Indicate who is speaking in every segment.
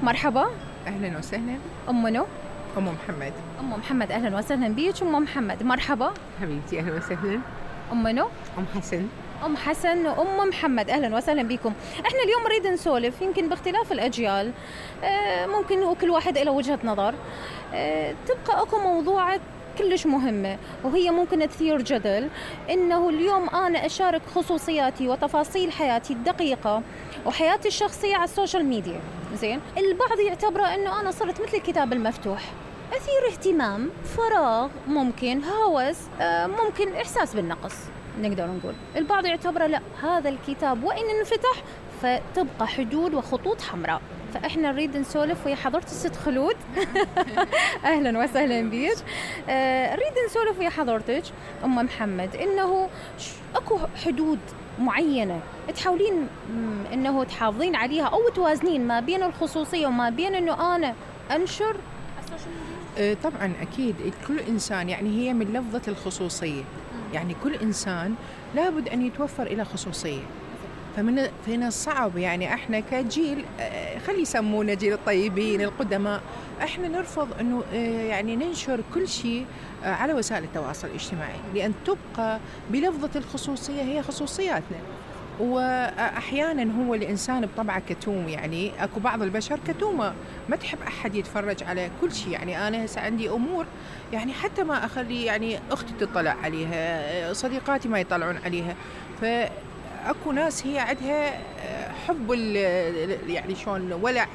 Speaker 1: مرحبا.
Speaker 2: أهلا وسهلا.
Speaker 1: أم منو؟
Speaker 2: أم محمد.
Speaker 1: أم محمد، أهلا وسهلا بيك أم محمد. مرحبا
Speaker 2: حبيبتي أهلا وسهلا.
Speaker 1: أم منو؟
Speaker 2: أم حسن.
Speaker 1: أم حسن وأم محمد، أهلا وسهلا بكم. إحنا اليوم نريد نسولف يمكن باختلاف الأجيال، ممكن وكل واحد له وجهة نظر، تبقى أكو موضوعات كلش مهمة وهي ممكن تثير جدل، إنه اليوم أنا أشارك خصوصياتي وتفاصيل حياتي الدقيقة وحياتي الشخصية على السوشيال ميديا. زين، البعض يعتبره إنه أنا صرت مثل الكتاب المفتوح، أثير اهتمام، فراغ، ممكن هوس، ممكن إحساس بالنقص. نقدر نقول البعض يعتبره لا، هذا الكتاب وإن انفتح فتبقى حدود وخطوط حمراء. فإحنا نريد نسولف ويا حضرة الست خلود. أهلا وسهلا بيك. نريد نسولف ويا حضرتك أم محمد، إنه أكو حدود معينة تحاولين إنه تحافظين عليها أو توازنين ما بين الخصوصية وما بين إنه أنا أنشر السوشيال ميديا؟
Speaker 2: طبعا أكيد كل إنسان يعني هي من لفظة الخصوصية، يعني كل إنسان لابد أن يتوفر إلى خصوصية. فمن الصعب يعني احنا كجيل، خلي يسمونا جيل الطيبين القدماء، احنا نرفض انه يعني ننشر كل شيء على وسائل التواصل الاجتماعي، لان تبقى بلفظة الخصوصية هي خصوصياتنا. واحيانا هو الانسان بطبعه كتوم، يعني اكو بعض البشر كتومه ما تحب احد يتفرج على كل شيء. يعني انا هسه عندي امور يعني حتى ما اخلي يعني اختي تطلع عليها، صديقاتي ما يطلعون عليها. اكو ناس هي عندها حب يعني شلون ولع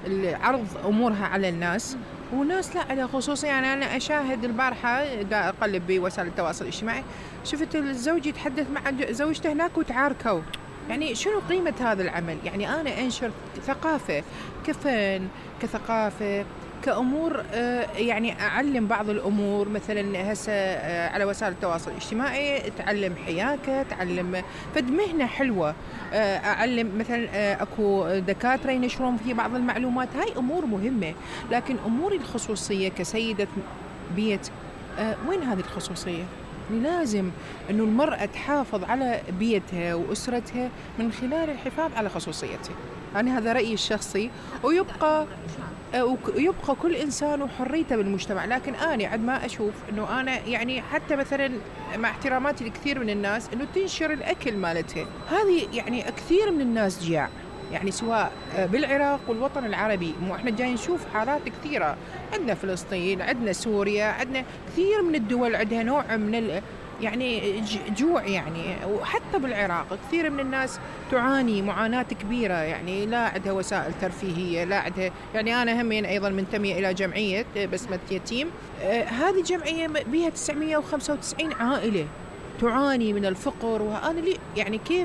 Speaker 2: العرض امورها على الناس، وناس لا على خصوصي. يعني انا اشاهد البارحه دا اقلب بوسائل التواصل الاجتماعي، شفت الزوج يتحدث مع زوجته هناك وتعاركوا. يعني شنو قيمة هذا العمل؟ يعني انا انشر ثقافة كفن، كثقافة، كأمور، يعني أعلم بعض الأمور. مثلا هسه على وسائل التواصل الاجتماعي تعلم حياكة، تعلم فد مهنة حلوة، أعلم مثلا أكو دكاترة ينشرون في بعض المعلومات، هاي أمور مهمة. لكن أموري الخصوصية كسيدة بيت، وين هذه الخصوصية؟ لازم أنه المرأة تحافظ على بيتها وأسرتها من خلال الحفاظ على خصوصيتها. يعني هذا رأيي الشخصي، ويبقى كل إنسان وحريته بالمجتمع. لكن أنا عد ما أشوف أنه أنا يعني حتى مثلا مع احتراماتي لكثير من الناس أنه تنشر الأكل مالتها، هذه يعني كثير من الناس جياع، يعني سواء بالعراق والوطن العربي. مو احنا جاي نشوف حالات كثيرة، عندنا فلسطين، عندنا سوريا، عندنا كثير من الدول عندها نوع من يعني جوع. يعني وحتى بالعراق كثير من الناس تعاني معاناة كبيرة، يعني لا عندها وسائل ترفيهية، لا عندها. يعني أنا همين أيضا منتمية إلى جمعية بسمة يتيم، هذه جمعية بها 995 عائلة تعاني من الفقر. وأنا يعني كيف